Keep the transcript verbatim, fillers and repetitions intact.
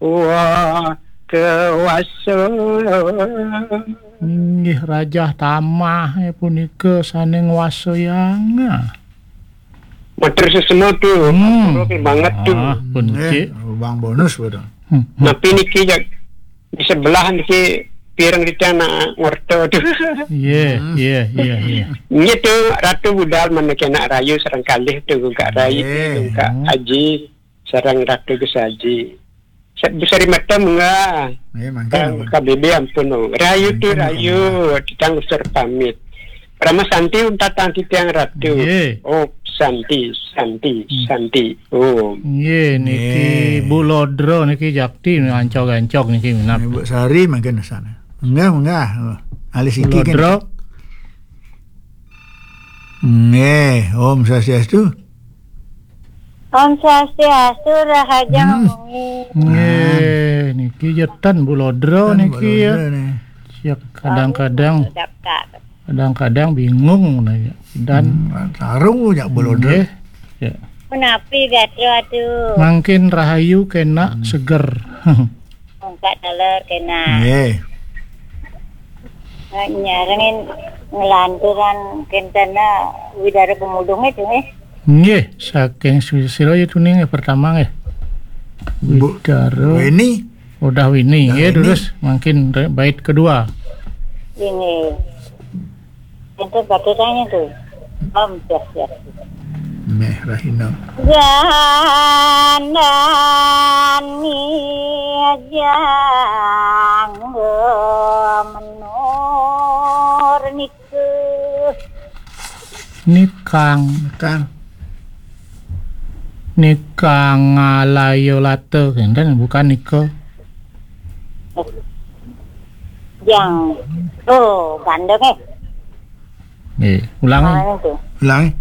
Wah, kewasa. Inggih rajah tamah, eh, punika sané ngwasayang. Matur sesama tu. Hmm. Matur banget tu. Ah, pun. Eh, cik. Lubang bonus, betul. Hmm, hmm. Napi niki, jak, di sebelah niki pireng di tiang nak ngorta tu. Iya, hmm, iya, iya, iya. Nggih tu, Ratu budal manah kena rayu sareng kalih tu, Gungkak Rai, iya, Gungkak, hmm, Aji, sareng Ratu Gesaji. Sa-, Bu Sari Mata munggah. Nggih, mangkin, Kang, ampun. K B B ampun, oh. Rayu tu mangkin, rayu, ampun. Titiang usur pamit. Parama Santi untatang titiang Ratu. Nggih. Oh, Santi, Santi, hmm, Santi. Oh. Nggih, niki nggih. Bu Lodro niki jakti ancog-ancog niki minab. Nggih, Bu Sari mangkin sana. Munggah, munggah. Oh, alis Bu iki kan. Lodro. Nggih, Om Swastiastu. Om Swastiastu, rahajeng, hmm, wengi. Nggih, niki jetan Bu Lodro. Kan niki Bu ya. Lodro nih. Ya, kadang-kadang, oh, daftar. Kadang-kadang bingung nanya. Dan hmm, taruh ya Bu Lodro. Nggih. Ya. Menapi gatra tu? Mangkin rahayu kena, hmm, seger. Mangkat taler kena. Nggih. Nyarengin ngelanturan kentana Widara Pemudung itu, eh. Nggih, saking sira ya tuning ya pertama nggih. Bu-, Widara. Weni. Udah Wini, udah nggih, Wini. Terus mangkin re-, bait kedua. Ini. Itu bagaimana tu? Om, siap, siap. Meh Rahina. Gandani jangga menur nika. Nikang. Nikang. Nikang alaya lata, kenten, bukan nika. Jang. Oh, gandeng, eh. Nggih, ulangi. Ah, itu. Ulangi.